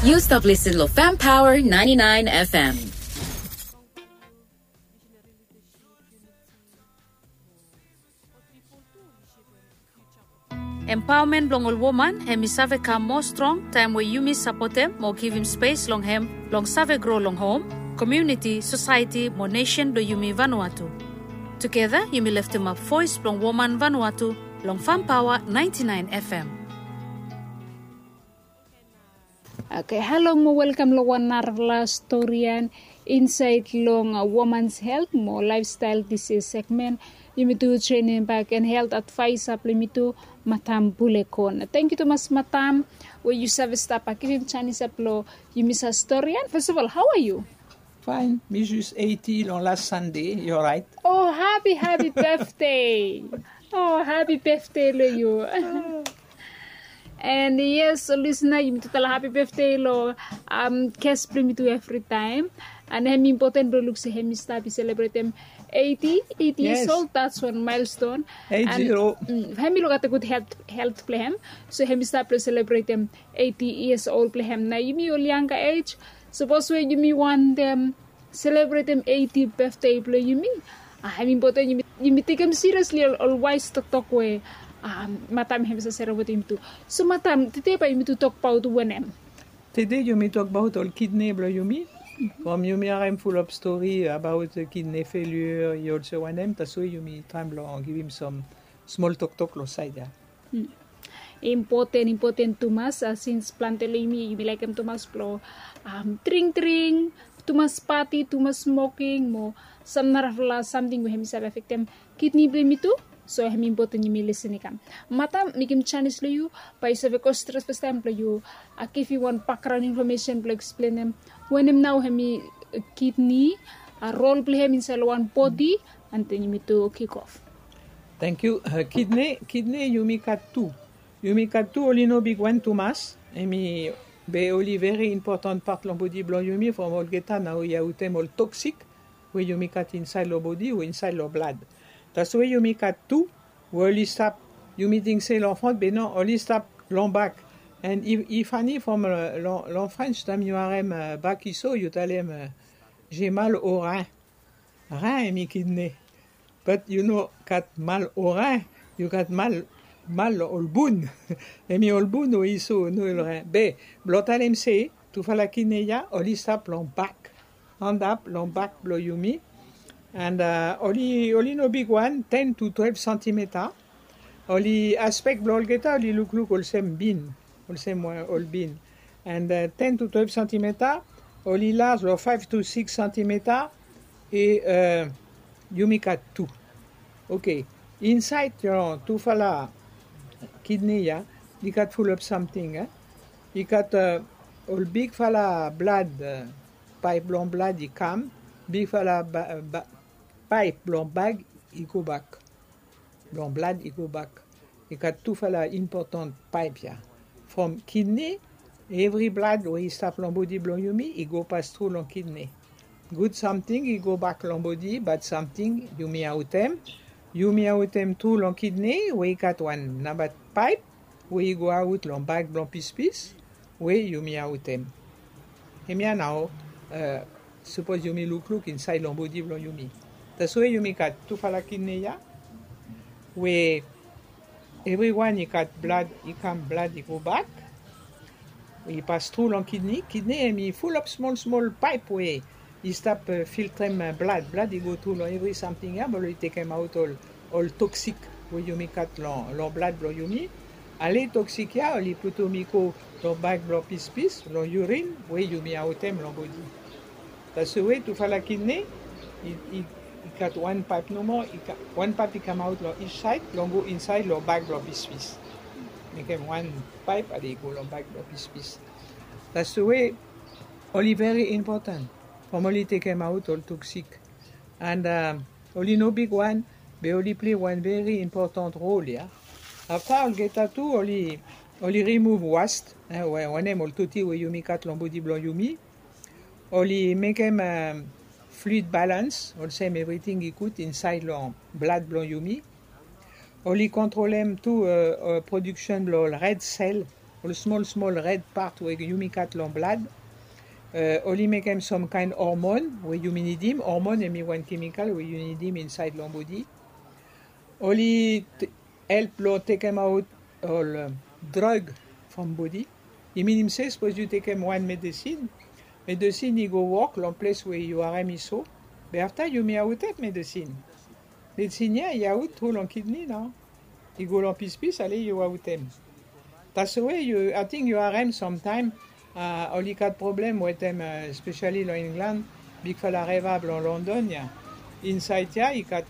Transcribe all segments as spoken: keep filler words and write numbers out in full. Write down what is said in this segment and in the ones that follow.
Yu stap listen lo Fam Power ninety nine F M. Empaomen blong ol woman hem i save kam moa strong taem we yumi sapotem mo givim spes long hem blong save gro long hom, komuniti, sosaeti mo nesen blong yumi Vanuatu. Tugeta yumi leftemap voes blong woman Vanuatu long Fam Paoa ninety nine F M. Oke, halo mo welkam long wan narafala storian insaed long Women's Health mo Lifestyle Disease segment. Yumi tu trenem bak en helt advaesa blong yumi tu, Matam Bulekon. Tangkiu tumas, Matam, we yu save stap givim janis ya blong yumi sa storian. First of all, how are you? Fine, mi jes eiti long las Sande, yu oraet? Oh, hapi hapi befde. Oh, hapi befde long yu. And yes, lisna, yumi tu talem hapi befde long ges blong yumi tu evritaem. And hem impoten blong luk se hem i stap i selebretem eiti, eiti years old, that's one milestone. And hem i luk gat a gud helt blong hem. So hem i stap blong selebretem eiti years old blong hem. Nao yumi ol yanga ej, sapos we yumi wantem selebretem eiti befde blong yumi, hem impoten yumi tekem siriesli ol waes toktok we Matam hem i save serem wetem yumi tu. So Matam, tede bae yumi tu tokbaot wanem? Tede yumi tokbaot ol kidne blong yumi. From yumi harem fulap stori abaot kidne feliua i olsem wanem, taswe yumi traem blong givim sam smol toktok long saed ya. Impoten, impoten tumas, sins plante long yumi, yumi laekem tumas blong dring dring, tumas pati, tumas smoking mo sam narafala samting we hem i save afektem kidne blong yumi tu. So hem impoten yumi lisin i kam. Matam, mekem janis long yu bae yu save go stret fastaem blong yu givim wan bakgraon infomesen blong eksplenem wanem nao hem i kidne, rol blong hem insaed long wan bodi, and then yumi tu kik of. Tangkiu. Kidne, kidne yumi gat tu. Yumi gat tu, oli no bigwan tumas. Hem i, be oli veri impoten pat long bodi blong yumi from olgeta nao i aotem ol toksik we yumi gat insaed long bodi o insaed long blad. Taswe yumi gat tu we oli stap, yumi ting se long front, be no, oli stap long bak. And i fani from long French, taem yu harem bak i so, yu talem j'ai mal au rein. Rein hem i kidne. But yu no gat mal au rein, yu gat mal, mal long ol bun. Hem i ol bun we i so, no ol rein. Be blong talem se tufala kidne ya oli stap long bak, antap long bak blong yumi. And oli, oli no bigwan, ten to twelve santimeta. Oli, aspek blong olgeta oli lukluk olsem bin, olsem ol bin. And ten to twelve santimeta, oli laj long five to six santimeta. E yumi gat tu. Oke. Insaed long tufala kidne ya i gat fulap samting. I gat ol bigfala blad, paep blong blad i kam, bigfala paep blong bag i gobak. Blong blad i gobak. I gat tufala impoten paep ya. From kidne, evri blad we i stap long bodi blong yumi i go pas tru long kidne. Gud samting i gobak long bodi, bad samting yumi aotem. Yumi aotem tru long kidne we i gat wan namba paep we i go aot long bag blong pispis we yumi aotem. Hemia nao, sapos yumi lukluk insaed long bodi blong yumi. Taswe yumi gat tufala kidne ya we evriwan i gat blad i kam, blad i gobak, i pas tru long kidne. Kidne hem i fulap smol smol paep we i stap filtrem blad. Blad i go tru long evri samting ya blong i tekemaot ol toksik we yumi gat long blad blong yumi. Ale toksik ya oli putum i go long bag blong pispis, long yurin we yumi aotem long bodi. Taswe tufala kidne i gat wan paep nomo, wan paep i kamaot long each saed blong go insaed long bag blong pispis. Mekem wan paep ale i go long bag blong pispis. Taswe oli veri impoten from oli tekemaot ol toksik. And oli no bigwan, be oli plei wan veri impoten rol ya. Afta olgeta tu oli, oli rimuv wast, wanem, ol toti we yumi gat long bodi blong yumi. Oli mekem fluid balans, olsem evriting i gud insaed long blad blong yumi. Oli kontrolem tu prodiksen blong ol red sel ol smol smol red part we yumi gat long blad. Oli mekem some kaen hormon we yumi nidim. Hormon hemi wan kemikal we yu nidim insaed long bodi. Oli help long tekemaot ol drug from bodi. I minim se sapos yu tekem wan medesin, medesin i go wok long ples we yu harem i so. Be afta yumi aotem medesin. Medesin ya i aot tru long kidni nao. I go long pispis ale yu aotem. Tasowe yu ating yu harem samtaem oli gat problem wetem, spesiali long Inglan, bigfala reva blong London ya. Insaed ya i gat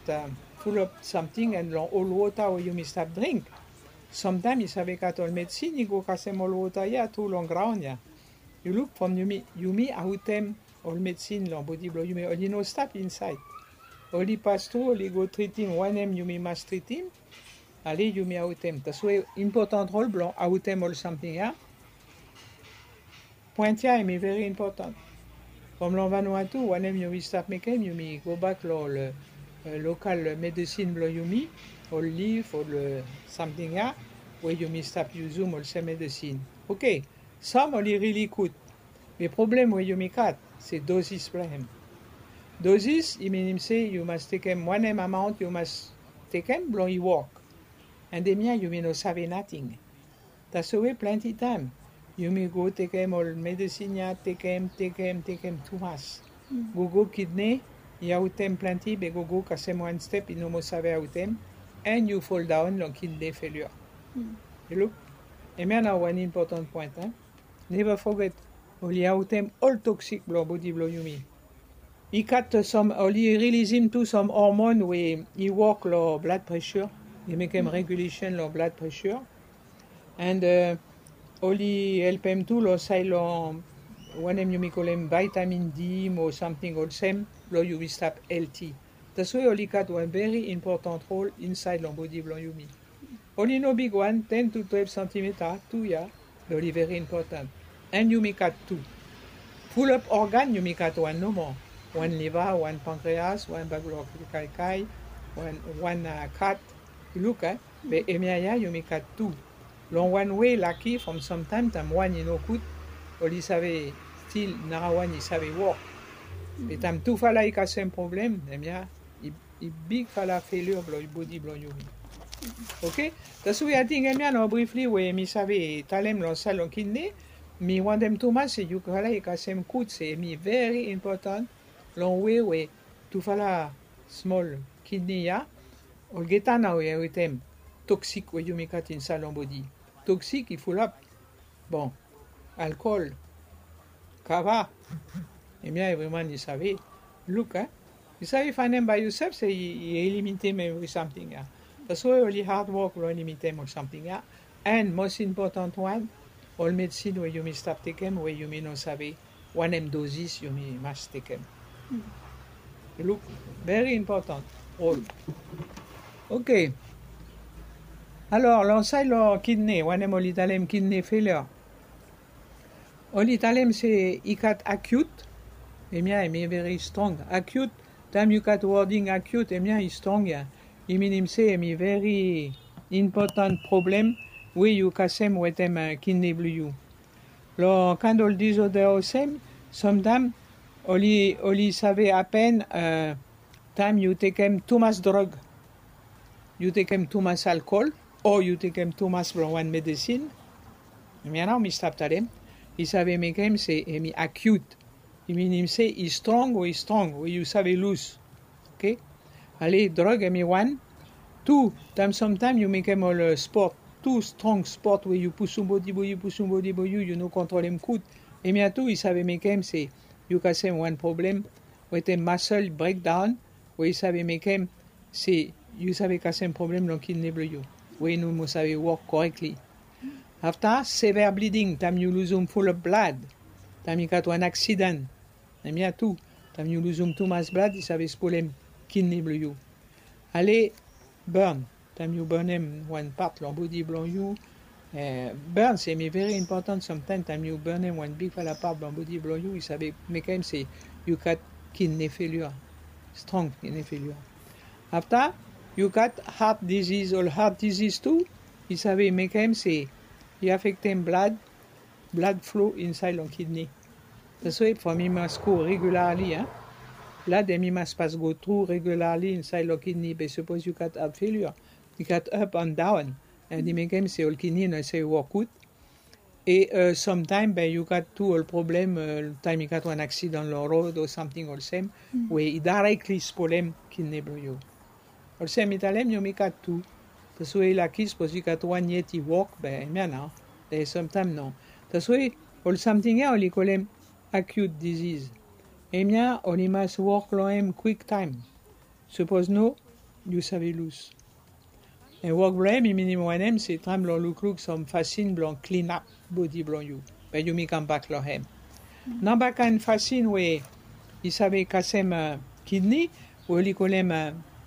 fulap samting an long ol wota we yumi stap dring. Samtaem i save gat ol medesin i go kasem ol wota ya tru long graon ya. Yu luk from yumi aotem ol medesin long bodi blong yumi, oli no stap insaed. Oli pas tru, oli go tritim wanem yumi mas tritim. Ale yumi aotem. Tasowe impotan rol blong aotem ol samting ya. Poen ya hemi veri impotan. From long Vanuatu wanem yumi stap mekem, yumi gobak long ol lokal medesin blong yumi, ol lif, ol samting ya we yumi stap yusum olsem medesin. Oke. Sam oli rili gud. Be problem we yumi gat se dozis blong hem. Dozis i minim se yu mas tekem wanem amaon yu mas tekem blong i wok. An hemia yumi no save nating. Tasowe plante taem yumi go tekem ol medesin ya, tekem, tekem, tekem tumas. Gogo kidne i aotem plante, be gogo kasem wan step i no moa save aotem, an yu foldaon long kidne felio. Yu luk, hemia nao wan impotan poen. Neva foget, oli aotem ol toksik blong bodi blong yumi. I gat sam, oli rilisim tu sam hormon we i wok long blad presha. I mekem regulesen long blad presha. An oli helpem tu long saed long wanem yumi kolem vitamin D mo samting olsem blong yumi stap helti. Tasowe oli gat wan veri impotan rol insaed long bodi blong yumi. Oli no bigwan, ten tu twelve santimeta tu ya, be oli veri impotan. An yumi gat tu. Fulap organ yumi gat wan nomo. Wan liva, wan pankreas, wan bag blong kaikai, wan kat. Yu luk, be hemia ya yumi gat tu. Long wan wei laki from samtaem taem wan i no gud, oli save stil narawan i save wok. Be taem tufala i kasem problem, hemia i bigfala felio blong bodi blong yumi. Oke. Tasowe ating hemia nao brifli we mi save talem long saed long kidne. Mi wantem tumas se yufala i kasem gud se hemi veri impotan long wei we tufala smol kidne ya. Olgeta nao i aotem toksik we yumi gat insaed long bodi. Toksik i fulap. Bon, alkol, kava. Hemia evriwan i save. Luk, a? I save faenem bae yusef se i elimitem evri samting ya. Tasowe oli had wok blong elimitem ol samting ya. An mos impotan wan, ol medesin we yumi stap tekem we yumi no save wanem dozis yumi mas tekem. Yu luk, veri impotan rol. Oke. Alor long saed long kidne, wanem oli talem kidne felio. Oli talem se i gat akiut. Hemia hemi veri strong. Akiut, taem yu gat woding akiut, hemia i strong ya. I minim se hemi veri impotan problem we yu kasem wetem kidne blong yu. Long kaen ol dizoda olsem, samtaem oli save hapen taem yu tekem tumas drog. Yu tekem tumas alkol o yu tekem tumas blong wan medesin. Hemia nao mi stap talem, i save mekem se hemi akiut. I minim se i strong we i strong we yu save lus. Oke. Ale, drog hemi wan. Tu, taem samtaem yu mekem ol spot, tu strong spot we yu pusum bodi blong yu, pusum bodi blong yu, yu no kontrolem gud. Hemia tu i save mekem se yu kasem wan problem wetem masol brekdaon we i save mekem se yu save kasem problem long kidne blong yu we i no moa save wok korekli. Afta, severe bleeding, taem yu luzum fulap blad, taem i gat wan aksidan. Hemia tu, taem yu luzum tumas blad i save spolem kidne blong yu. Ale, burn, taem yu burnem wan pat long bodi blong yu. Burn se hemi veri impotan samtaem, taem yu burnem wan bigfala pat blong bodi blong yu, i save mekem se yu gat kidne felio, strong kidne felio. Afta, yu gat hat diziz, ol hat diziz tu i save mekem se I afektem blad, blad flo insaed long kidni. Taswe from i mas go regularli, blad hemi mas pas go tru regularli insaed long kidni. Be sapos yu gat heart failure, i gat up and down, and i mekem se ol kidni no save wok gud. E samtaem be yu gat tu ol problem, taem i gat wan aksidan long rod o samting olsem, we i daerekli spolem kidni blong yu. Olsem mi talem yumi gat tu. Taswe i laki sapos i gat wan yet i wok be hemia nao. Be samtaem no. Taswe ol samting ya oli kolem acute disease. Hemia oli mas wok long hem kwiktaem. Sapos no, yu save lus. Wok blong hem i minim wanem se traem blong lukluk sam fasin blong klinap bodi blong yu, be yumi kambak long hem. Namba kaen fasin we i save kasem kidni, we oli kolem,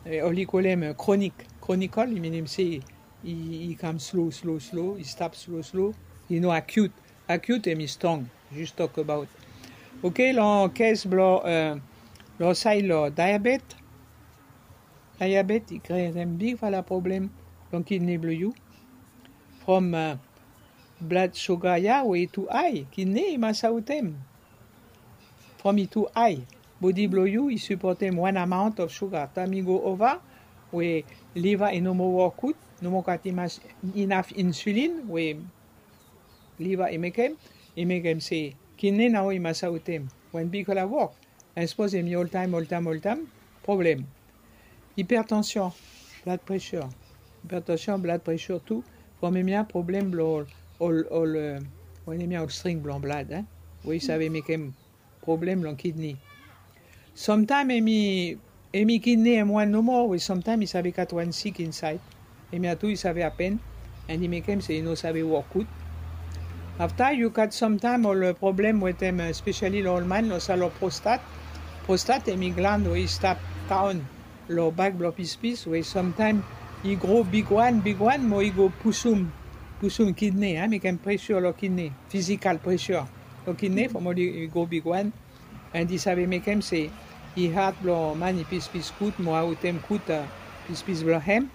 oli kolem kronik. Kronikol i minim se i kam slo slo slo, i stap slo slo. I no akiut. Akiut hemi strong. Jus tok abaot. Oke, long kes blong long saed long diabet. Diabet i krietem bigfala problem long kidni blong yu. From blad suga ya we i tu ae, kidni i mas aotem. From i tu ae, bodi blong yu i sipotem wan amaon of suga. Taem i go ova, we liva i no moa wok gud, no moa gat inaf insulin we liva i mekem, i mekem se kidni nao i mas aotem wan bigfala wok. An sapos hemi oltaem oltaem oltaem, problem. Ipertansion, blad presur. Ipertansion, blad presur tu. From hemia problem blong ol ol ol wanem ya, ol string blong blad, we i save mekem problem long kidni. Samtaem hemi hemi kidni hem wan nomo, we samtaem i save gat wan sik insaed. Hemia tu i save apen, an i mekem se i no save wok gud. Afta yu gat samtaem ol problem wetem, spesiali long ol man, long salo prostat. Prostat hemi glan we i stap daon long bak blong pispis, we samtaem i gro bigwan bigwan mo i go pusum pusum kidni, mekem presur long kidni, fizikal presur long kidni from oli i gro bigwan. An i save mekem se i had blong man i pispis gud mo aotem gud pispis blong hem.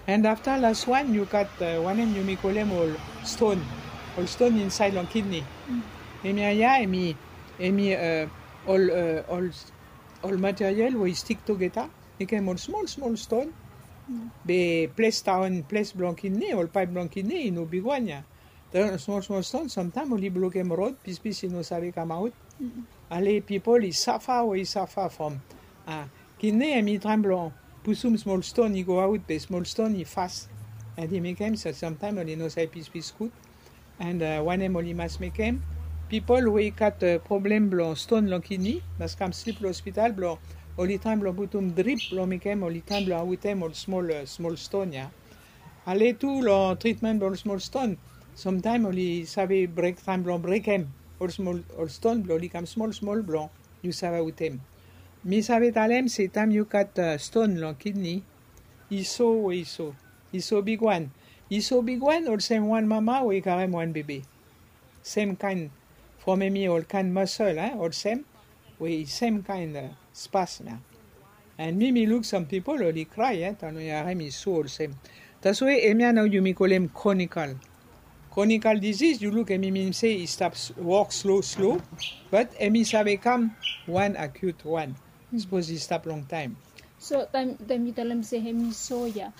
An afta las wan yu gat wanem yumi kolem ol ston. Ol ston insaed long kidni. Hemia ya hemi hemi ol ol ol materiel we i stik tugeta, mekem ol smol smol ston. Be ples daon, ples blong kidni, ol paep blong kidni i no bigwan ya. Smol smol ston, samtaem oli blokem rod, pispis i no save kamaot. Ale pipol i safa we i safa from kidni hemi traem blong pusum smol ston i go aot, be smol ston i fas. An i mekem se samtaem oli no save pispis gud. An wanem oli mas mekem? Pipol we i gat problem blong ston long kidni mas kam slip long ospital blong oli traem blong putum drip blong mekem oli traem blong aotem ol smol smol ston ya. Ale tu long tritmen blong ol smol ston, samtaem oli save brek, traem blong brekem ol smol ol ston blong oli kam smol smol blong yu save aotem. Mi save talem se taem yu gat ston long kidni, i so we i so, i so bigwan. I so bigwan olsem wan mama we i karem wan bebe. Semkaen from hemi ol kaen masel, olsem we i semkaen spas nao. An mi mi luk sam pipol oli krae taem oli harem i so olsem. Taswe hemia nao yumi kolem kronikal. Kronikal diziz yu luk hemi minim se i stap wok slo slo, bat hemi save kam wan akiut wan. Sapos i stap longtaem. So taem yu talem se hemi so ya,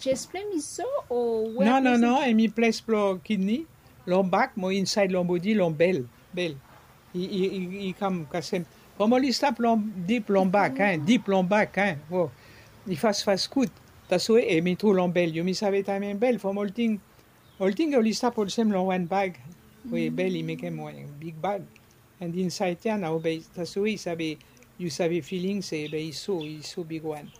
jes blong hem i so o? No no no, hemi ples blong kidni, long bak mo insaed long bodi, long bel. Bel i i i kam kasem. From oli stap long dip long bak, dip long bak. O, i fasfas gud. Taswe hemi tru long bel, yumi save taem hem bel from olting. Olting oli stap olsem long wan bag we bel i mekem wan big bag. An insaed ya nao be taswe i save, yu save filing se be i so, i so bigwan.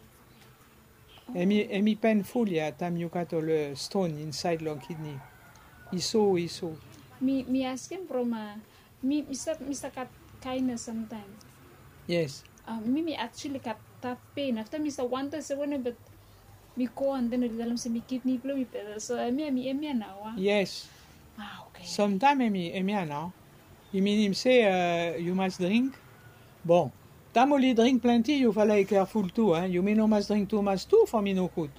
Hemi hemi penful ya taem yu gat ol ston insaed long kidni. I so, i so. Mi mi askem from mi mi stap mi stap gat kaen ya samtaem. Yes. Mi mi aktuali gat taf pen afta mi stap wantem se wanem, bat mi go an den oli talem se mi kidni blong mi pesa. So hemia hemi hemia nao a? Yes. Samtaem hemi hemia nao. I minim se yu mas dring. Bon, taem oli dring plante yufala i keaful tu. Yumi no mas dring tumas tu from i no gud.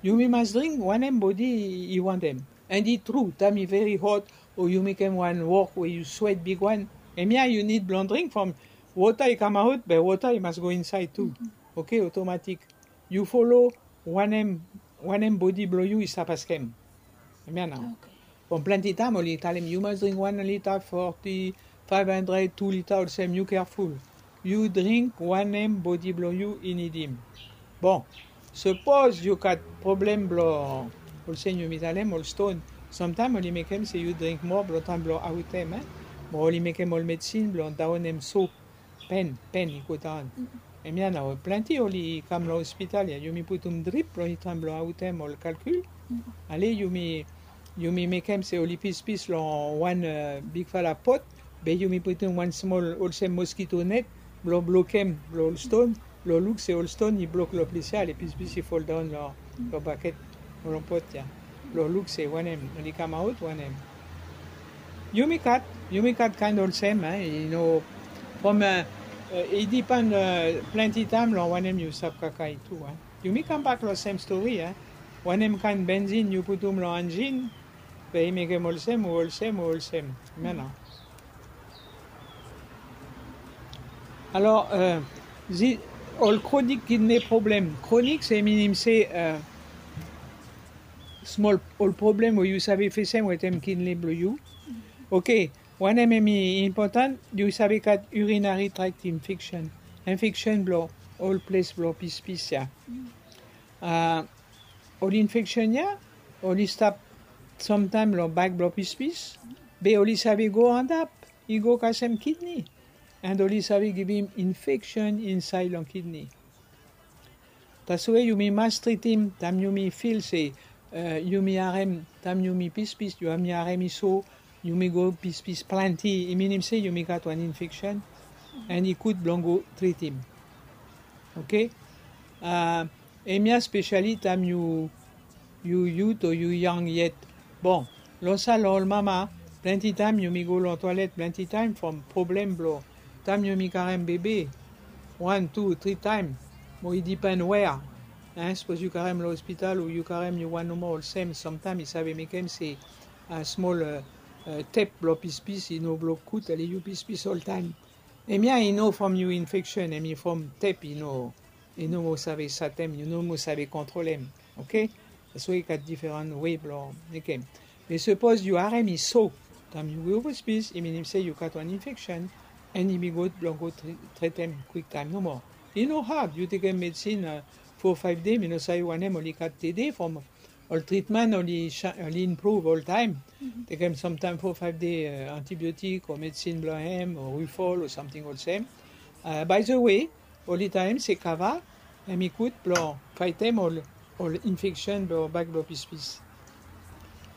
Yumi mas dring wanem bodi i wantem. And i tru, taem i veri hot o yu mekem wan wok we yu swet bigwan, hemia yu nid blong dring from wota i kamaot, be wota i mas go insaed tu. Oke, otomatik. Yu folo wanem wanem bodi blong yu i stap askem. Hemia nao. From plante taem oli talem yu mas dring wan lita foti, faef handred, tu lita, olsem, yu keaful. Yu dring wanem bodi blong yu i nidim. Bon, sapos yu gat problem blong, olsem yumi talem, ol ston, samtaem oli mekem se yu dring moa blong taem blong aotem, e. Mo oli mekem ol medsin blong daonem so. Pen pen i go daon. Hemia nao plante oli kam long ospital ya, yumi putum drip blong i taem blong aotem ol kalkil. Ale yumi yumi mekem se oli pispis long wan bigfala pot, be yumi putum wan smol olsem moskito net blong blokem blong ol ston, blong luk se ol ston i blok long ples ya, ale pispis i foldaon long baket o long pot ya, blong luk se wanem oli kamaot wanem. Yumi gat yumi gat kaen olsem, i no from i dipan plante taem long wanem yu stap kakae tu. Yumi kambak long sem stori. Wanem kaen benzin yu putum long anjin, be i mekem olsem o olsem o olsem. Hemia nao. Alor, ol kronik kidne problem. Kronik se minim se smol ol problem we yu save fesem wetem kidne blong yu. Oke. Wanem hemi impotan, yu save gat urinary tract infection. Infection blong ol ples blong pispis ya. Ol infection ya oli stap samtaem long bak blong pispis, be oli save go antap i go kasem kidne, and oli save givim infection insaed long kidne. Taswe yumi mas tritim taem yumi fil se yumi harem taem yumi pispis, yumi harem i so, yumi go pispis plante, i minim se yumi gat wan infection, and i gud blong go tritim. Oke. Hemia spesiali taem yu yu yut o yu yang yet. Bon, long sal long ol mama, plante taem yumi go long twalet plante taem from problem blong taem yumi karem bebe wan tu tri taem, mo i dipen wea. Sapos yu karem long ospital o yu karem yu wan nomo olsem, samtaem i save mekem se smol tep blong pispis i no blok gud, ale yu pispis oltaem. Hemia i no from yu infection, hemi from tep i no i no mo save satem, i no mo save kontrolem. Oke. Taswe i gat diferan we blong mekem. Be sapos yu harem i so taem yu go pispis, i minim se yu gat wan infection, and i bi gud blong go tretem kwiktaem nomo. I no had, yu tekem medsin fo faef dei, mi no save wanem oli gat tede from ol tritmen oli improve oltaem. Tekem samtaem fo faef dei antibiotik o medsin blong hem o rufol o samting olsem. By the way, oli talem se kava hemi gud blong faetem ol ol infection blong bak blong pispis.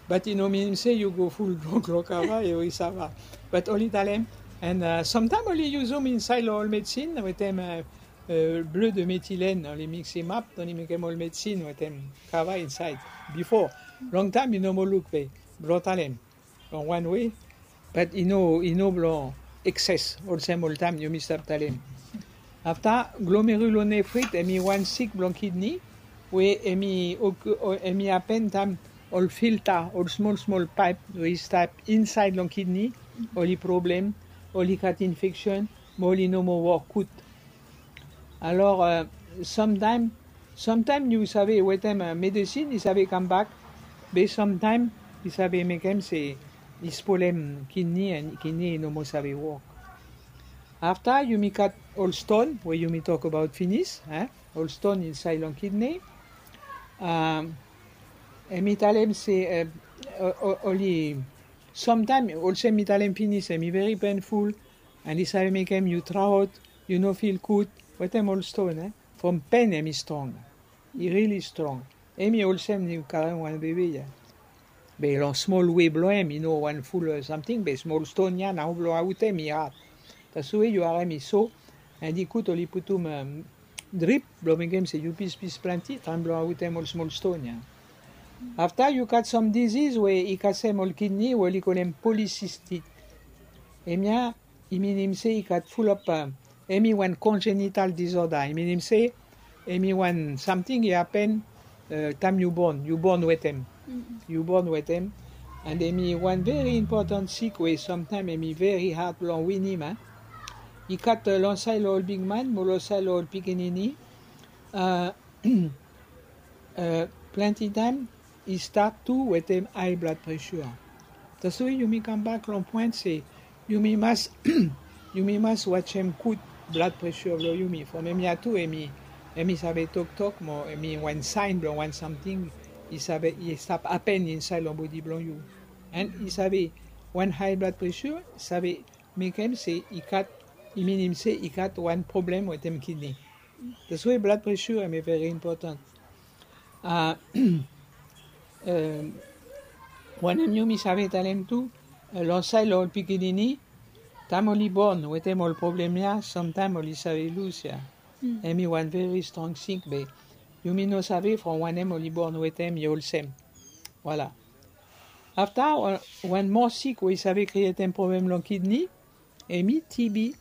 Bat i no minim se yu go ful blok long kava o i sava. Bat oli talem, and samtaem oli yusum insaed long ol medsin wetem bleu de metilen, oli miksim ap, oli mekem ol medsin wetem kava insaed. Bifo, longtaem i no mo luk, be blong talem long wan we, bat i no i no blong ekses olsem oltaem yumi stap talem. Afta, glomerulonefrit hemi wan sik blong kidne we hemi hemi hapen taem ol filta, ol smol smol paep we i stap insaed long kidne, oli problem, oli gat infeksen, mo oli no mo wok gud. Alor, samtaem samtaem yu save wetem medesin i save kambak, be samtaem i save mekem se i spolem kidne, and kidne i no mo save wok. Afta yumi gat ol ston we yumi tokbaot finis, ol ston insaed long kidne. Hemi talem se oli samtaem olsem mi talem finis, hemi veri penful, and i save mekem yu traot, yu no fil gud wetem ol ston. From pen hemi strong. I rili strong. Hemi olsem yu karem wan bebe ya. Be long smol we blong hem i no wan ful samting, be smol ston ya nao blong aotem i had. Taswe yu harem i so, and i gud oli putum drip blong mekem se yu pispis plante taem blong aotem ol smol ston ya. Afta yu gat sam diziz we i kasem ol kidne we oli kolem polisistik. Hemia i minim se i gat fulap, hemi wan konjenital dizoda, i minim se hemi wan samting i hapen taem yu bon, yu bon wetem. Yu bon wetem, And hemi wan veri impotan sik we samtaem hemi veri had blong winim, a. I gat, uh, long saed long ol bigman mo long saed long ol pikinini. Uh, uh, plante taem i stat tu wetem hae blad presha. Taswe yumi kambak long poen se yumi mas yumi mas wajem gud blad presha blong yumi from hemia tu hemi hemi save toktok mo hemi wan saen blong wan samting i save i stap hapen insaed long bodi blong yu. And i save wan hae blad presha save mekem se i gat i minim se i gat wan problem wetem kidney. Taswe blad presha hemi veri impotan. Uh, wanem yumi save talem tu, uh, long saed long ol pikinini, taem oli bon wetem ol problem ya, samtaem oli save lus ya. Hemi wan veri strong sik be yumi no save from wanem oli bon wetem i olsem. Voila. Afta wan moa sik we i save krietem problem long kidney, hemi T B,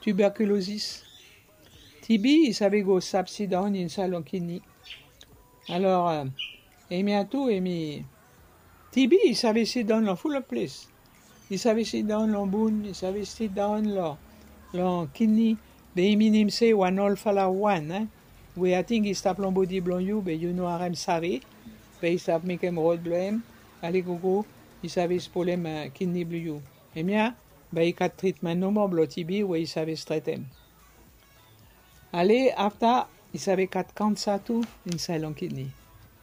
tuberculosis. T B i save go stap sidaon insaed long kidney. Alor, uh, hemia tu hemi T B i save sidaon long ful of ples. I save sidaon long bun, i save sidaon long long kidney. Be i minim se wan olfala wan, eh, we ating i stap long bodi blong yu be yu no harem save. Be i stap mekem rod blong hem ale gogo, i save spolem, uh, kidney blong yu. Hemia bae i gat tritmen nomo blong T B we i save stretem. Ale afta i save gat kansa tu insaed long kidney.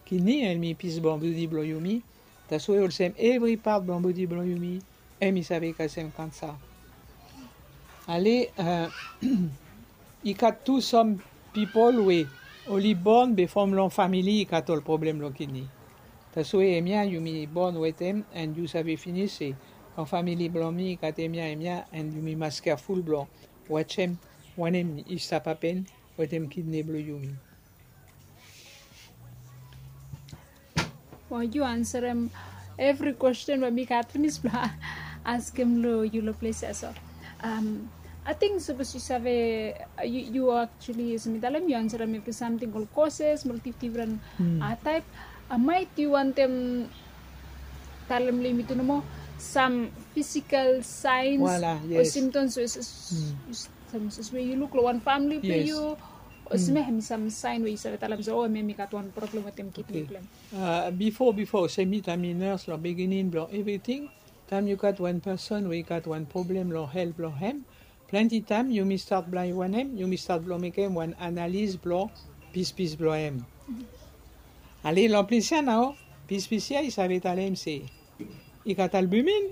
Kidney hemi pis blong bodi blong yumi. Taswe olsem evri pat blong bodi blong yumi hemi save kasem kansa. Ale, uh, i gat tu sam pipol we oli bon be from long famili i gat ol problem long kidney. Taswe hemia yumi bon wetem and yu save finis se long famili blong mi i gat hemia hemia and yumi mas keaful blong wajem wanem i stap hapen wetem kidney blong yumi. Wow, yu ansarem evri kwesten we mi gat finis blong askem long yu long ples ya so. Um, ating sapos yu save, yu, yu actually, olsem mi talem, yu ansarem evri samting, ol causes mo ol dif-, difren, uh, taep. Uh, maet yu wantem talem long yumi tu nomo sam physical signs o symptoms we, sam, we yu luk long wan famili blong yu, o olsem ya, hemi sam saen we yu save talem se, o, hemia mi gat wan problem wetem kidney blong hem. Uh, bifo, bifo, olsem mi taem mi nurse long biginin blong evriting, taem yu gat wan person we i gat wan problem long helt blong hem, plante taem yumi stat blong wanem, yumi stat blong mekem wan analis blong pispis blong hem. Ale long ples ya nao, pispis ya i save talem se i gat albumin.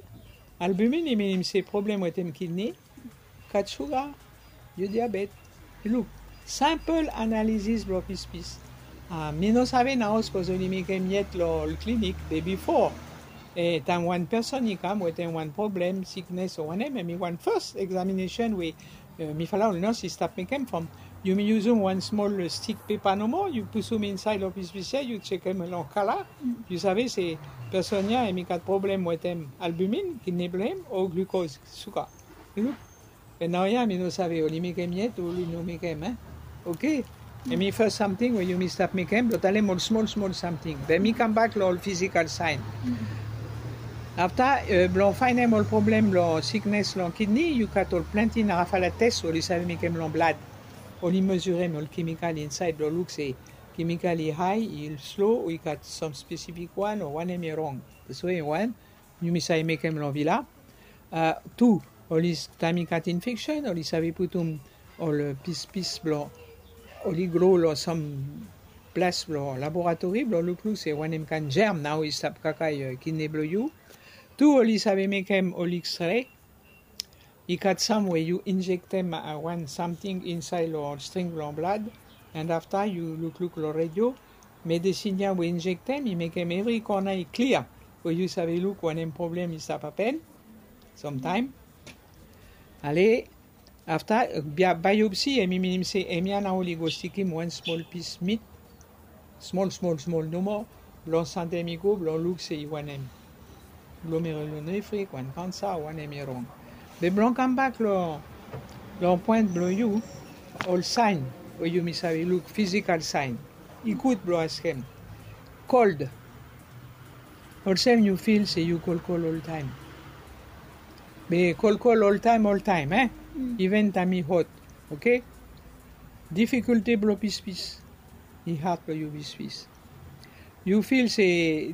Albumin i minim se problem wetem kidney. Gat suga, yu diabet. Luk, simple analysis blong pispis. Uh, mi no save nao sapos oli mekem yet long ol klinik, be bifo, eh, taem wan person i kam wetem wan problem, siknes o wanem, hemi wan first examination we, eh, mifala ol nurse i stap mekem from yumi yusum wan smol, eh, stik pepa nomo, yu pusum insaed long pispis ya, yu jekem long kala, yu save se person ya hemi gat problem wetem albumin, kidney blong hem, o glucose, suga. Luk. Be naoia mi no save oli mekem yet o oli no mekem, eh. Oke. Hemi first samting we yumi stap mekem blong talem ol smol smol samting. Be mi kambak long ol physical sign. Afta, eh, blong faenem ol problem long siknes long kidney, yu gat ol plante narafala tes oli save mekem long blad. Oli mezurem ol kemikal insaed blong luk se kemikal i hae, i slo, o i gat sam spesifik wan o wanem i rong. Taswe wan yumi save mekem long vila. Uh, tu, oli s-, taem i gat infeksen, oli save putum ol, uh, pispis blong, oli gro long sam ples blong laboratori blong lukluk se wanem kaen germ nao i stap kakae, uh, kidney blong yu. Tu, oli save mekem ol X-ray. I gat sam we yu injektem, uh, wan samting insaed long string blong blad, and afta yu lukluk long redio, medesin ya we injektem i mekem evri kona i klia, we yu save luk wanem problem i stap hapen. Samtaem. Ale, afta, uh, bia-, biopsi, hemi minim se hemia nao oli go stikim wan smol pis mit, smol, smol, smol nomo, blong santem i go, blong luk se i wanem. Glomerulonefrik, wan kansa, wanem i rong. Be blong kambak long, long poen blong yu, ol saen we yumi save luk, physical sign. I gud blong askem. Cold. Olsem yu fil se yu kolkol oltaem. Be kolkol oltaem, oltaem, e? Even taem i hot, oke? Difikulte blong pispis. I had blong yu pispis. Yu fil se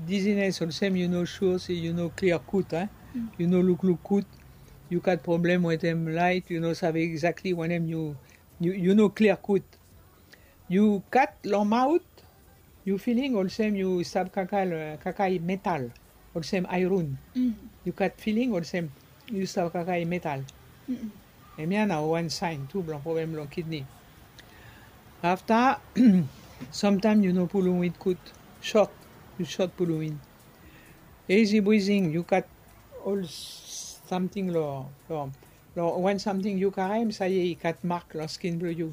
dizines, olsem yu no sua se yu no klia gud, e? Yu no lukluk gud. Yu gat problem wetem laet, yu no save egzakli wanem yu, yu, yu no klia gud. Yu gat long maot, yu filing olsem yu stap kakae, kakae metal, olsem aeron. Yu gat filing olsem yu stap kakae metal. Hemia nao wan saen tu blong problem long kidni. Afta, samtaem yu no pulum win gud, sot, yu sot pulum win. Isi brizing, yu gat ol samting long, long, long wan samting yu karem, sae i gat mak long skin blong yu.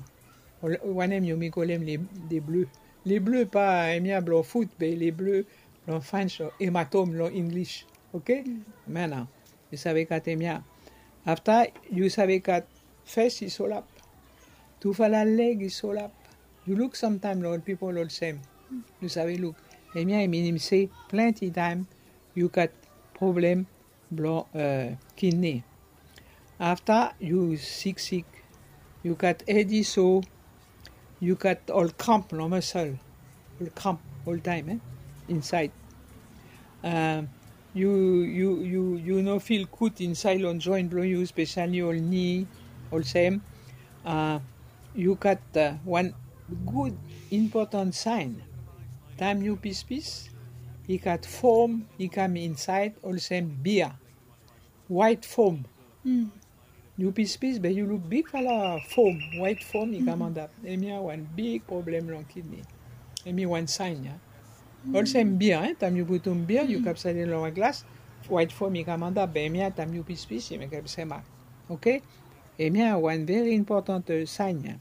Ol, wanem yumi kolem le, le bleu. Le bleu pa hemia blong fut, be le bleu blong French o hematome long English. Oke? Hemia nao. Yu save gat hemia. Afta yu save gat fes i solap. Tufala leg i solap. Yu luk samtaem long ol pipol olsem. Yu save luk. Hemia i minim se plante taem yu gat problem blong, e, kidni. Afta yu siksik, yu gat hed i so, yu gat ol kramp long muscle, ol kramp oltaem, e, insaed. E, yu, yu, yu, yu no fil gud insaed long joen blong yu, spesali ol ni, olsem. E, yu gat, e, wan gud impotan saen. Taem yu pispis, i gat fom i kam insaed olsem bia. Waet fom. Yu pispis be yu luk bigfala fom, waet fom i kam antap. Hemia wan big problem long kidni. Hemi wan saen ya. Olsem bia, e, taem yu putum bia, yu kapsait long wan glas, waet fom i kam antap, be hemia taem yu pispis i mekem semak. Oke? Hemia wan veri impotan, e, saen ya.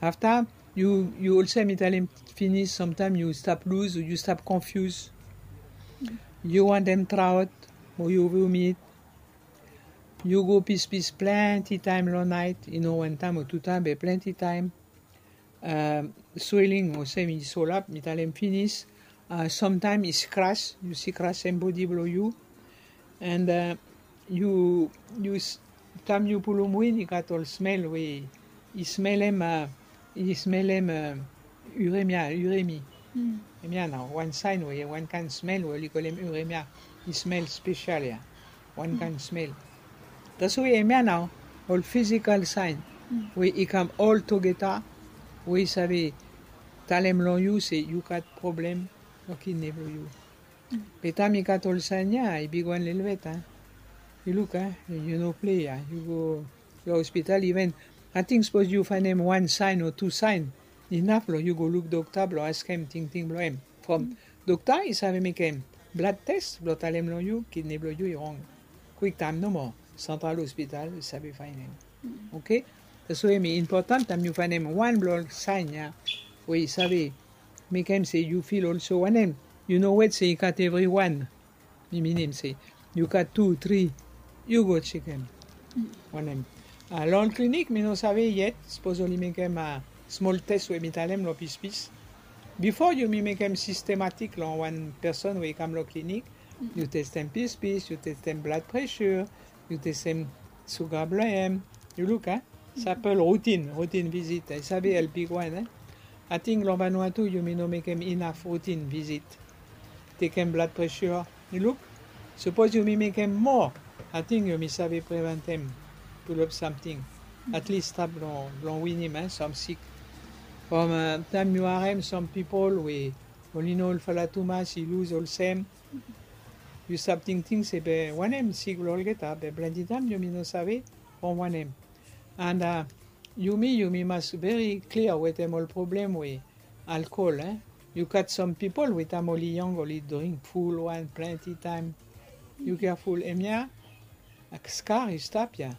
Afta yu, yu olsem mi talem finis, samtaem yu stap luz, yu stap konfiuz. Yu wantem traot, o yu vomit. Yu go pispis plante taem long naet, i no wan taem o tu taem, be plante taem. E, swelling olsem i solap, mi talem finis. E, samtaem i skras, yu skrasem bodi blong yu. And, e, yu, yu s-, taem yu pulum win, i gat ol smel we i smelem, e, i smelem, e, uremia, uremi. Hemia nao wan saen we, wan kaen smel we oli kolem uremia. I smel spesal ya. Wan kaen smel. Taswe hemia nao ol fisikal saen we i kam oltugeta, we i save talem long yu se yu gat problem long kidni blong yu. Be taem i gat ol saen ya, i bigwan lelebet, a. Yu luk, a, yu no plei, a. Yu go long ospital, iven ating sapos yu faenem wan saen o tu saen, inaf blong yu go luk dokta blong askem tingting blong hem. From dokta i save mekem blad tes blong talem long yu kidni blong yu i rong. Kwiktaem nomo, santral ospital i save faenem. Oke? Taswe hemi impotan taem yu faenem wan blong ol saen ya we i save mekem se yu fil olso wanem. Yu no wet se i gat evriwan. Mi minim se yu gat tu, tri, yu go jekem. Wanem, a, long ol klinik mi no save yet sapos oli mekem, a, smol tes we mi talem long pispis. Bifo yumi mekem sistematik long wan peson we i kam long klinik, yu testem pispis, yu testem blad presur, yu testem suga blong hem. Yu luk, a? Sa apel rutin, rutin vizit. I save help bigwan, e? Ating long Vanuatu yumi no mekem inaf rutin vizit. Tekem blad presur. Yu luk, sapos yumi mekem moa, ating yumi save preventem plupla samting. Atlis stap long, long winim, e, sam sik. From, e, taem yu harem sam pipol we oli no olfala tumas, i luz olsem. Yu stap tingting se be wanem sik blong olgeta, be plante taem yumi no save from wanem. And, a, yumi, yumi mas veri klia wetem ol problem we alkol, e? Yu gat sam pipol we taem oli yong oli dring ful wan plante taem. Yu keaful, hemia, a, skar i stap ya.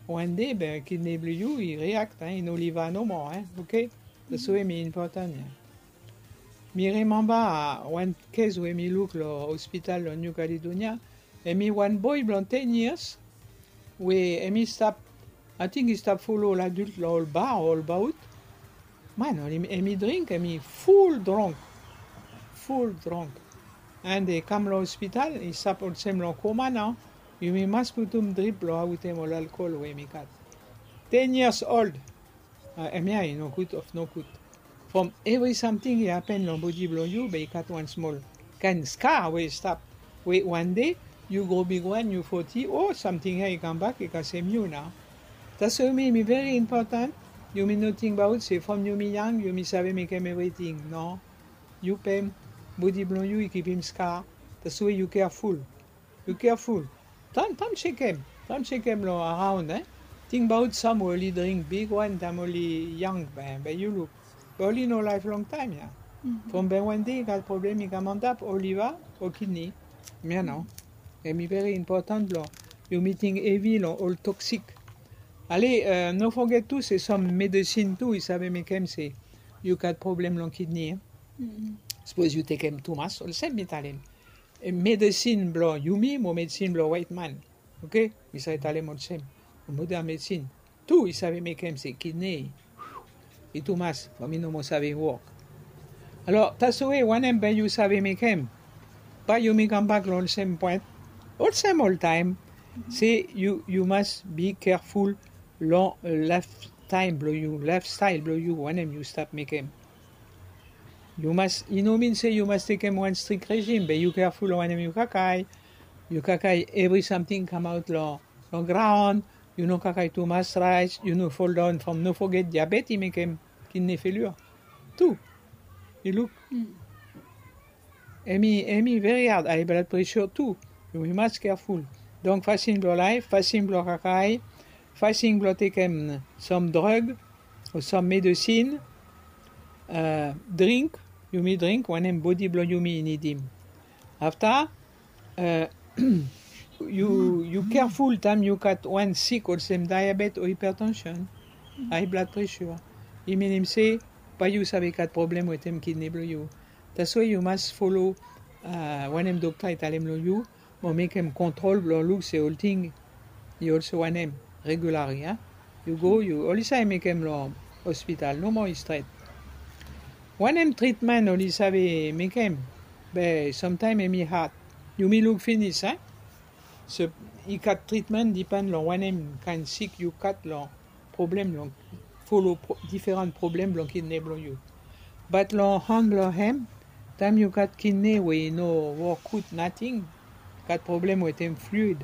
Wan dei be kidni blong yu i riakt, e? I no liva nomo, e? Oke? Taswe hemi impotan ya. Mi rimemba, a, wan kes we mi luk long ospital long New Caledonia. Hemi wan boe blong ten years we hemi stap, ating i stap folo ol adilt long ol bar o ol baot. Man, oli, hemi dring, hemi ful drong. Ful drong. And i kam long hospital, i stap olsem long koma nao. Yumi mas putum drip blong aotem ol alkol we yumi gat. Ten years old. Hemia i nogud of nogud. From evri samting i hapen long bodi blong yu, be i gat wan smol kaen ska we i stap, we wan dei yu gro bigwan, yu foti, o samting ya i kambak i kasem yu nao. Taswe mi mi veri impotan. Yumi no tingbaot se from yumi yang yumi save mekem evriting. No. Yu pem, bodi blong yu i kipim ska. Taswe yu keaful. Yu keaful. Tan tan sekem tan sekem long araon e. Tingbaot sam we oli dring bigwan taem oli yang, be be yu luk, be oli no laef longtaem ya. From be wan dei i gat problem i kam antap o liva o kidni. Mia nao. Hemi veri impotan blong yu miting evi long ol toksik. Ale, no foget tu se sam medesin tu i save mekem se yu gat problem long kidni. Sapos yu tekem tumas olsem mi talem, medesin blong yumi mo medesin blong waetman. Oke. Mi save talem olsem, moden medesin tu i save mekem se kidni i tumas from i no moa save wok. Alor taswe wanem be yu save mekem? Bae yumi kambak long olsem poen olsem oltaem, se yu mas bi keaful long laeftaem blong yu, laefstael blong yu, wanem yu stap mekem. Yu mas, i no min se yu mas tekem wan strik rejim, be yu keaful long wanem yu kakae. Yu kakae evri samting kamaot long graon. Yu no kakae tumas raes, yu no foldaon from no foget diabet i mekem kidni felior tu. I luk. Hemi hemi veri had, ae bladpresha tu. Yumi mas keaful. Donk fasin blong laef, fasin blong kakae, fasin blong tekem sam drug o sam medesin, dring, yumi dring wanem bodi blong yumi i nidim. Afta yu yu keaful taem yu gat wan sik olsem diabet o hipertension, ae bladpresha, i minim se bae yu save gat problem wetem kidni blong yu. Taswe yu mas folo wanem dokta i talem long yu, mo mekem kontrol blong luk se olting i olsem wanem regulari. Yu go yu oli save mekem long hospital nomo i stret. Wanem tritmen oli save mekem? Be samtaem hemi had. Yumi luk finis a. So i gat tritmen dipen long wanem kaen sik yu gat long problem long folo diferan problem blong kidne blong yu. Bat long han blong hem, taem yu gat kidne we i no wok gud nating, gat problem wetem fluid.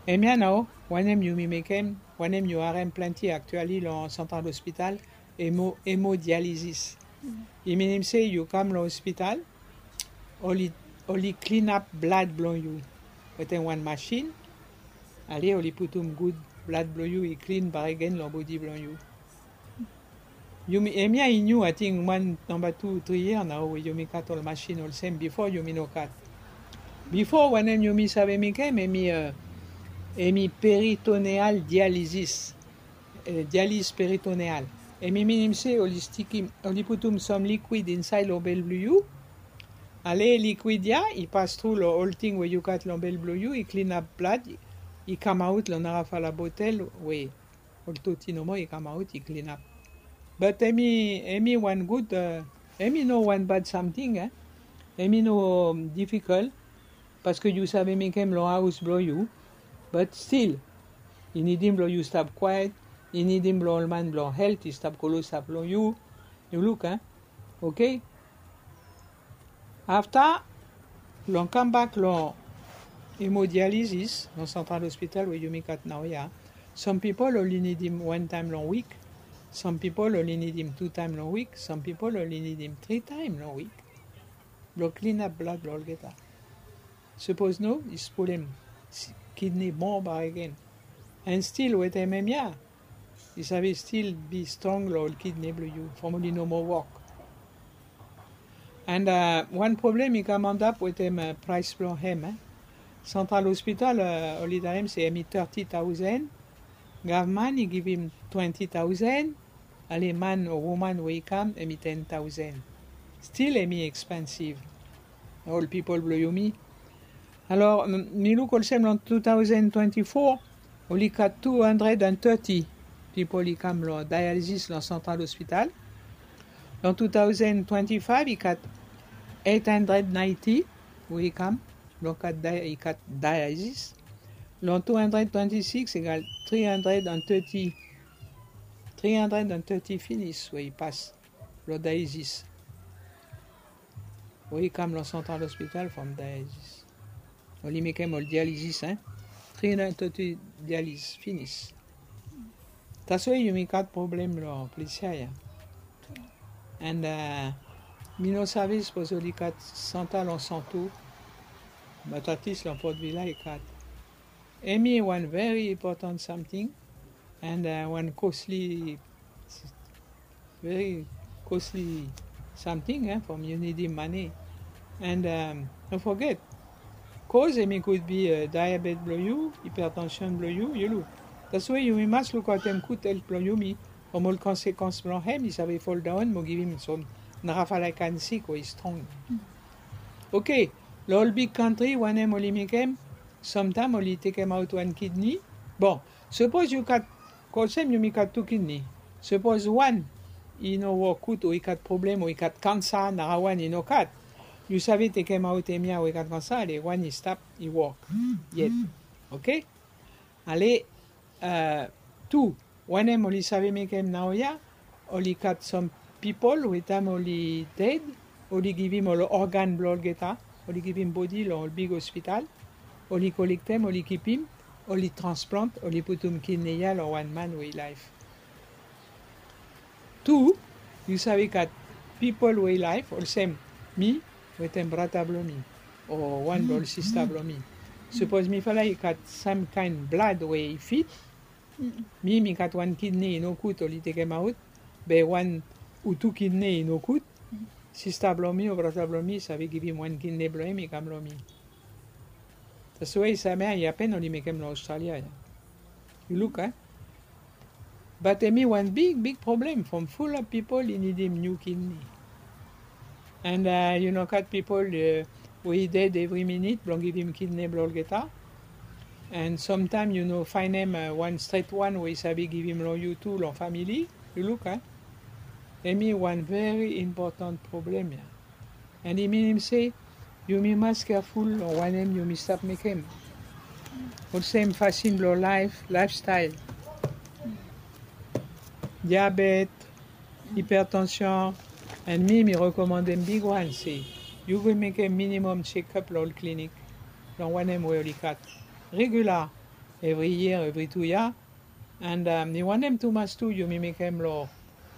Hemia nao wanem yumi mekem, wanem yu harem plante aktiali long santral hospital, hemodializis. I minim se yu kam long hospital, oli klinap blad blong yu wetem wan masin. Ale oli putum gud blad blong yu i klin bakegen long bodi blong yu. Yumi hemia i niu ating wan namba tu tri yia nao we yumi gat ol masin olsem, bifo yumi no gat. Bifo wanem yumi save mekem hemi hemi peritoneal dializis. Dializ peritoneal. Hemi minim se oli stikim, oli putum sam likwid insaed long bel blong yu. Ale likwid ya i pas tru long olting we yu gat long bel blong yu, i klinap blad, i kamaot long narafala botel we ol toti nomo i kamaot i klinap. Bat hemi hemi wan gud, hemi no wan bad samting. Hemi no difikol, paske yu save mekem long haos blong yu. Bat stil i nidim blong yu stap kwaet. I nidim blong ol man blong helt i stap klosap long yu. Yu luk a. Oke. Afta long kambak long hemodializis long santral hospital we yumi gat naoia, sam pipol oli nidim wan taem long wik. Sam pipol oli nidim tu taem long wik. Sam pipol oli nidim tri taem long wik blong klinap blad blong olgeta. Sapos no i spolem kidni moa bakegen. An stil wetem hemia i save stil bi strong long ol kidni blong yu from oli no moa wok. An wan problem i kam antap wetem praes blong hem. Santral hospital oli talem se hemi teti taosen. Gavman i givim twenti taosen. Ale man o woman we i kam hemi ten taosen. Stil hemi ekspensiv. Ol pipol blong yumi. Alor mi luk olsem long tu taosen twenti fo oli gat tu handred an teti pipol i kam long dializis long santral hospital. Long tu taosen twenti faev i gat eit handred naenti. we i kam, blong kat dia-, i kat dialysis. Long two hundred twenty-six egal three hundred and thirty, three hundred and thirty finis we i pas long dialysis. We i kam long Central Hospital from dialysis. Oli mekem ol dialysis, hein. Three hundred thirty dialysis finis. That's why yumi kat problem long ples ya, ya. And, uh, mi no save sapos oli kat Santa long Santo, but at least long Port Vila i kat. Hemi wan very important something, and, uh, wan costly, very costly something, eh, from yu nidim money. And, um, no forget, cause hemi could be, uh, diabetes blong yu, hypertension blong yu, yu luk. That's why yumi mas lukaotem gud health blong yumi, from ol konsekans blong hem i save fall down mo givim som narafala kaen sik we i strong. Okay, long ol big country wanem oli mekem, sometimes oli tekemaot wan kidney. Bon, sapos yu kat, olsem yumi kat tu kidney. Sapos wan i no wok gud o i kat problem o i kat kansa, nara wan i no kat. Yu save tekemaot hemia we i kat kansa, ale wan i stap i wok yet. Okay? Ale, uh, tu, wanem oli save mekem naoia, oli kat som pipol we taem oli ded, oli givim ol organ blong olgeta, oli givim bodi long ol big hospital, oli kolektem, oli kipim, oli transplant, oli putum kidney ya long wan man we i laef. Tu, yu save kat pipol we i laef, olsem mi, wetem brata blong mi, o wan blong ol sista blong mi. Sapos mifala i kat sam kaen blad we i fit, mi, mi kat wan kidney i no gud, oli tekemaot, be wan o tu kidney i no gud, sista blong mi o brata blong mi i save givim wan kidney blong hem i kam long mi. That's why samea i hapen, oli mekem long Australia ya. Yu luk, eh? But hemi wan big, big problem from full of pipol i nidim niu kidney. And, uh, yu no kat pipol, uh, we i ded evri minit blong givim kidney blong olgeta. And sometimes yu no faenem, uh, wan stret wan we i save givim long yu tu long famili. Yu luk, eh? Hemi wan very important problem ya. And i minim se yumi mas careful long wanem yumi stap mekem. Olsem fasin blong laef, lifestyle. Diabet, hipertension, and mi, mi rekomandem big wan se yu go mekem minimum check-up long ol klinik, long wanem we oli kat. Regular, evri yia, evri tu yia, And, um, mi wantem tumas tu yumi mekem long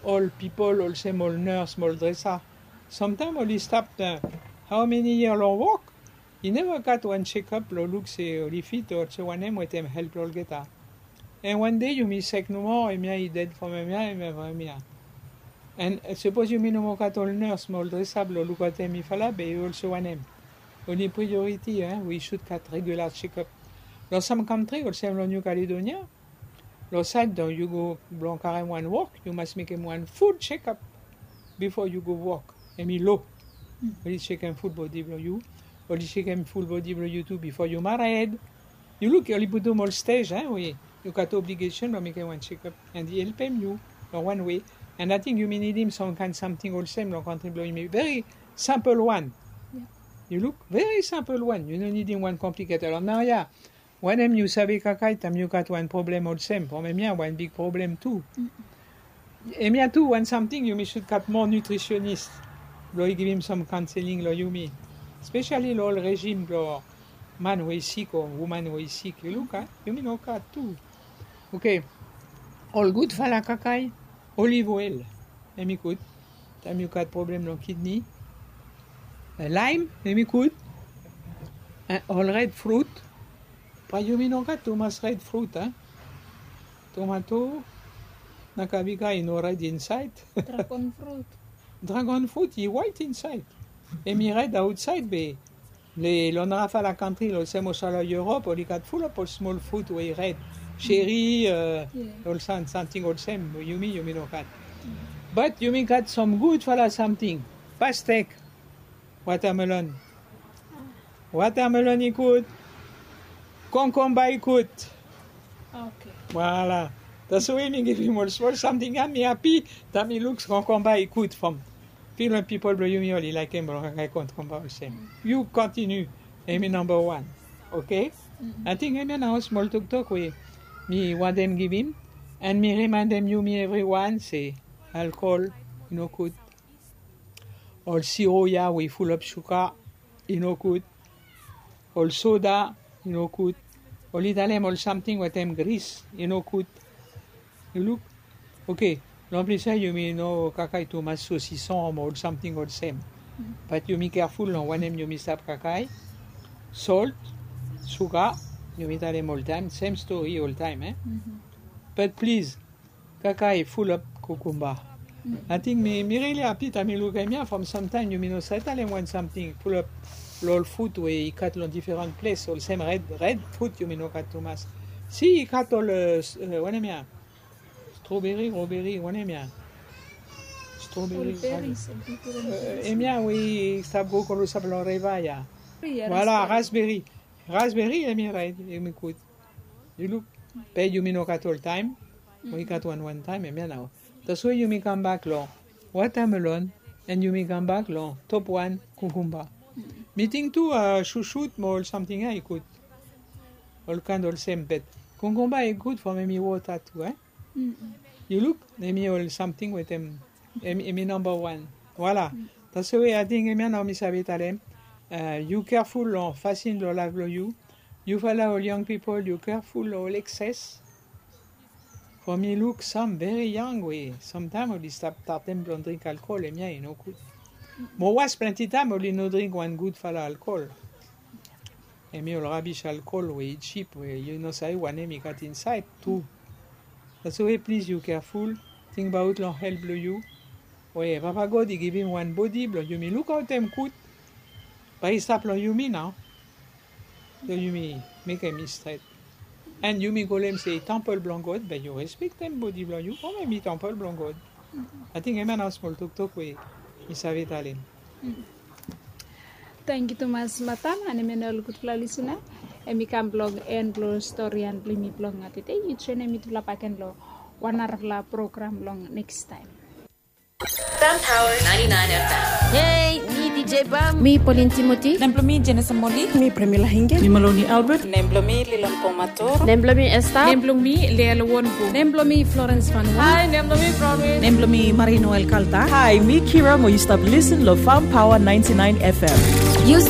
ol pipol olsem ol nurse mo ol dresa. Somtaem oli stap, uh, how many year long wok, i neva gat wan check-up blong luk se oli fit o olsem wanem wetem helt blong olgeta. And wan dei yumi sek nomo, hemia i ded from hemia, hemia from hemia. And, uh, sapos yumi no moa gat ol nurse mo ol dresa blong lukaotem mifala, be i olsem wanem? Oni priority, eh, we i should gat regular check-up. Long sam kantri olsem long New Caledonia, long saed blong yu go blong karem wan wok, yu mas mekem wan full check-up bifo yu go wok. Hemi lo. Oli jekem full bodi blong yu. Oli jekem full bodi blong yu tu bifo yu mared. Yu luk, oli putum ol stej, eh, we yu gat obligation blong mekem wan check-up. And i helpem yu long wan way. And ating yumi nidim sam kaen samting olsem long kantri blong yumi. Very simple wan. Yu luk, very simple wan. Yu no nidim wan complicated. Alor naoia, wanem yu save kakae taem yu gat wan problem olsem? From hemia wan big problem tu. Hemia tu wan samting yumi should gat moa nutritionist blong i givim sam counseling long yumi. Especially long ol regime blong man we i sik o woman we i sik. Yu luk, a? Yumi no gat tu. Okay. Ol gudfala kakae, olive oil. Hemi gud taem yu gat problem long kidney. Eh, lime, hemi gud. Eh, ol red fruit. Bae yumi no gat tumas red fruit, a? Tomato, nakabiga i no red insaed. Dragon fruit. Dragon fruit i waet insaed. Hemi red aotsaed be long narafala kantri, olsem olsala Europe, oli gat full of ol smol fruit we i red. Cherry, eh, ol sam, samting olsem, yumi, yumi no gat. But yumi gat sam gudfala samting. Pastek, watermelon. Watermelon i gud. Konkomba i gud. Okay. Voilà. That's why mi givim ol smol samting ya, mi hapi taem mi luk konkomba i gud from Fil we pipol blong yumi oli laekem blong kakae kontinua olsem. Yu kontiniu. Hemi namba wan. Oke. Ating hemia nao smol toktok we mi wantem givim. An mi rimaendem yumi evriwan se alkol i no gud. Ol siro ya we i fulap suga i no gud. Ol soda i no gud. Oli talem ol samting wetem gris i no gud. Yu luk. Oke. Long ples ya yumi no kakae tumas sosison mo ol samting olsem. Bat yumi keaful long wanem yumi stap kakae. Solt, suga, yumi talem oltaem sem stori oltaem e. Bat plis, kakae fulap kukumba. Ating mi mi rili api taem mi luk hemia from samtaem yumi no save talem wan samting fulap long ol frut we i gat long diferan ples olsem red red frut yumi no gat tumas. Si i gat ol wanem ya? Strawberry, roberi, wanem ya? Strawberry. Hemia we i stap go kolo stap long reva ya. Voila, raspberry. Raspberry hemi red, hemi gud. Yu luk. Be yumi no gat oltaem. Mo i gat wanwan taem hemia nao. Taswe yumi kambak long watamelon. An yumi kambak long top wan, kukumba. Mi ting tu, susut mo ol samting ya i gud. Ol kaen olsem bet kukumba i gud from hemi wota tu e. Yu luk, hemi ol samting wetem hemi namba wan. Voila. Taswe ating hemia nao mi save talem. Yu keaful long fasin blong laef blong yu. Yufala ol yang pipol yu keaful long ol ekses. From mi luk sam veri yang we samtaem oli stap tatem blong dring alkol hemia i no gud. Mo was plante taem oli no dring wan gudfala alkol. Hemi ol rabis alkol we i jip we yu no save wanem i gat insaed tu. Taswe plis yu keaful. Tingbaot long helt blong yu. We papa god i givim wan bodi blong yumi lukaotem gud. Bae i stap long yumi nao. So yumi mekem i stret. An yumi kolem se i tampol blong god be yu respektem bodi blong yu from hemi tampol blong god. Ating hemia nao smol toktok we mi save talem. Tangkiu tumas matam. An hemia nao ol gudfala lisina, hemi kam blong en blong storian blong yumi blong tede. Yu joenem mitufala baken long wan narafala program long nekstaem. Fam Power ninety-nine F M. Hei, mi D J Bam. Mi Pauline Timothy. Nem blong mi Jenesa Moli. Mi Premila Hinge. Mi Maloni Albert. Nem blong mi Lilon Pomator. Nem blong mi Esta. Nem blong mi Leela Wonbu. Nem blong mi Florence Fanua. Hai, nem blong mi Bronwyn. Nem blong mi Marie Noel Kalta. Hai, mi Kira mo yu stap lisen long Fam Power ninety-nine F M. Yu stap